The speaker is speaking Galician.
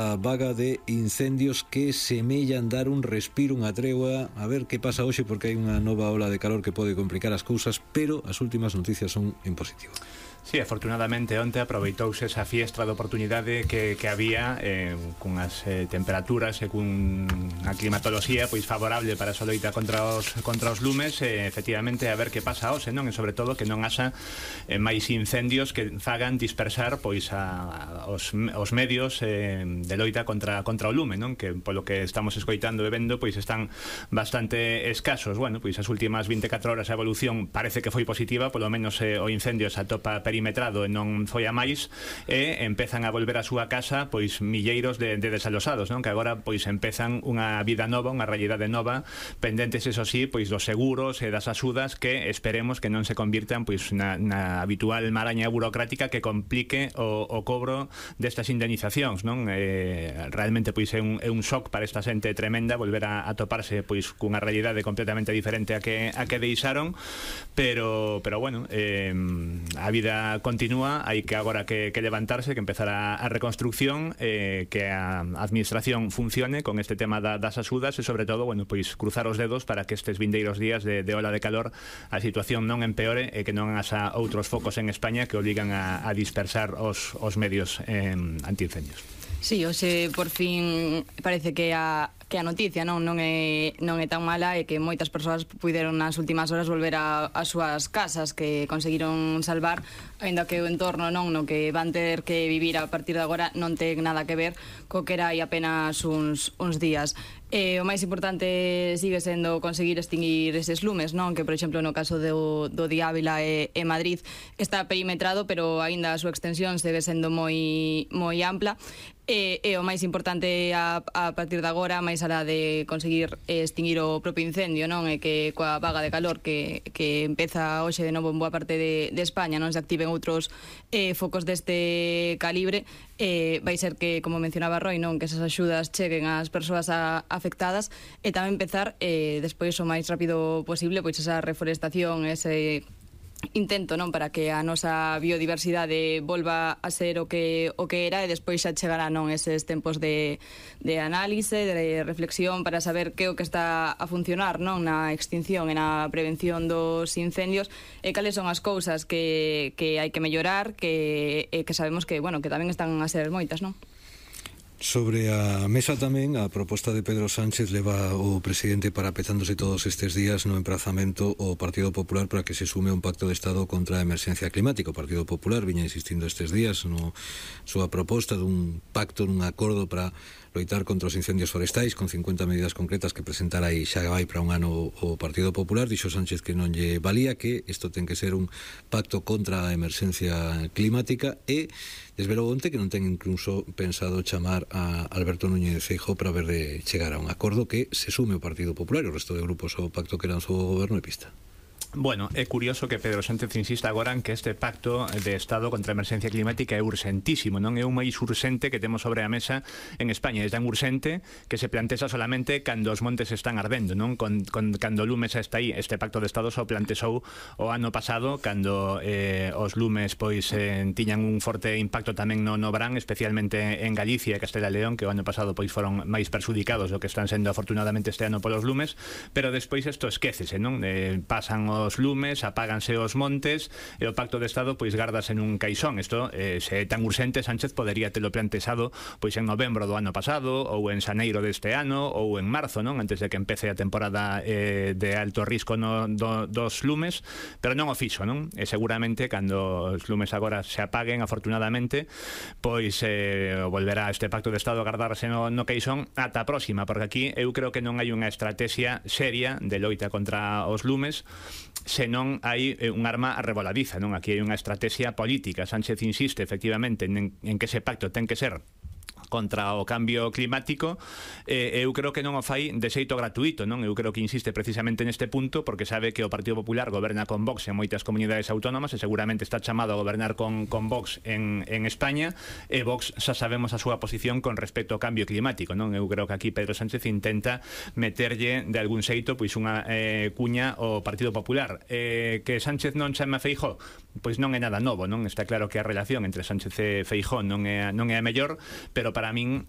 A vaga de incendios que semellan dar un respiro, unha tregua. A ver que pasa hoxe, porque hai unha nova ola de calor que pode complicar as cousas, pero as últimas noticias son en positivo. Sí, afortunadamente onte aproveitouse esa fiestra de oportunidade que había cunhas temperaturas e cunha climatoloxía pois favorable para esa loita contra os lumes, efectivamente a ver que pasa hoxe, non? E sobre todo que non haxa máis incendios que fagan dispersar pois os medios de loita contra o lume, non? Que polo que estamos escoitando e vendo pois están bastante escasos. Bueno, pois as últimas 24 horas a evolución parece que foi positiva, polo menos o incendio se atopa perimetrado e non foi a máis, e empezan a volver a súa casa pois milleiros de desalosados, non? Que agora pois empezan unha vida nova, unha realidade nova, pendentes eso sí, pois dos seguros e das axudas que esperemos que non se convirtan pois na habitual maraña burocrática que complique o cobro destas indemnizacións, non? Realmente pois é un shock para esta xente tremenda volver a toparse pois cunha realidade completamente diferente a que deixaron, pero bueno, a vida continúa, hai que agora que levantarse, que empezar a reconstrucción, que a administración funcione con este tema das axudas e sobre todo, bueno, pois cruzar os dedos para que estes vindeiros días de ola de calor a situación non empeore e que non haxa outros focos en España que obligan a dispersar os medios antiincendios. Sí, hoxe por fin parece que a noticia non é tan mala e que moitas persoas puideron nas últimas horas volver ás súas casas, que conseguiron salvar, aínda que o entorno no que van ter que vivir a partir de agora non ten nada que ver co que era aí apenas uns días. O máis importante sigue sendo conseguir extinguir eses lumes, non? Que, por exemplo, no caso do de Ávila e Madrid está perimetrado, pero aínda a súa extensión segue sendo moi ampla. E o máis importante a partir de agora, máis alá de conseguir extinguir o propio incendio, non? E que coa vaga de calor que empeza hoxe de novo en boa parte de España non se activen outros focos deste calibre, vai ser que, como mencionaba Roy, non? Que esas axudas cheguen ás persoas afectadas e tamén empezar despois o máis rápido posible pois esa reforestación, ese intento non para que a nosa biodiversidade volva a ser o que era, e despois xa chegará non eses tempos de análise, de reflexión para saber que é o que está a funcionar non na extinción e na prevención dos incendios e cales son as cousas que hai que mellorar, que sabemos que, bueno, que tamén están a ser moitas, non? Sobre a mesa tamén a proposta de Pedro Sánchez leva o presidente parapetándose todos estes días no emprazamento ao Partido Popular para que se sume un pacto de Estado contra a emerxencia climática. O Partido Popular viña insistindo estes días no súa proposta dun pacto, nun acordo para loitar contra os incendios forestais con 50 medidas concretas que presentara aí xa vai para un ano o Partido Popular. Dixo Sánchez que non lle valía, que isto ten que ser un pacto contra a emerxencia climática, e desvelou onte que non ten incluso pensado chamar a Alberto Núñez Feijóo para ver de chegar a un acordo que se sume o Partido Popular e o resto de grupos ao pacto que lanzou o goberno e pista. Bueno, é curioso que Pedro Sánchez insista agora en que este pacto de Estado contra a emerxencia climática é urxentísimo, non é o máis urxente que temos sobre a mesa en España. É tan urxente que se plantexa solamente cando os montes están ardendo, non? Cando o lume xa está aí. Este pacto de Estado só plantexou o ano pasado, cando os lumes pois tiñan un forte impacto tamén no Brán, especialmente en Galicia e Castela e León, que o ano pasado pois foron máis perxudicados do que están sendo afortunadamente este ano polos lumes, pero despois isto esquécese, non? Pasan os lumes, apáganse os montes e o pacto de Estado pois gardase nun caixón. Isto, se é tan urxente, Sánchez podería telo plantexado pois en novembro do ano pasado ou en xaneiro deste ano ou en marzo, non? Antes de que empece a temporada de alto risco dos lumes, pero non o fixo, non? E seguramente cando os lumes agora se apaguen, afortunadamente, pois volverá este pacto de Estado a gardarse no caixón ata a próxima, porque aquí eu creo que non hai unha estrategia seria de loita contra os lumes, senón hai un arma arreboladiza, non? Aquí hai unha estrategia política. Sánchez insiste efectivamente en que ese pacto ten que ser contra o cambio climático, eu creo que non o fai de xeito gratuito, non? Eu creo que insiste precisamente neste punto porque sabe que o Partido Popular goberna con Vox en moitas comunidades autónomas e seguramente está chamado a gobernar con Vox en España, e Vox xa sabemos a súa posición con respecto ao cambio climático, non? Eu creo que aquí Pedro Sánchez intenta meterlle de algún xeito pois unha cuña ao Partido Popular. Que Sánchez non chame a Feijóo, pois non é nada novo, non? Está claro que a relación entre Sánchez e Feijóo non é a mellor, pero para min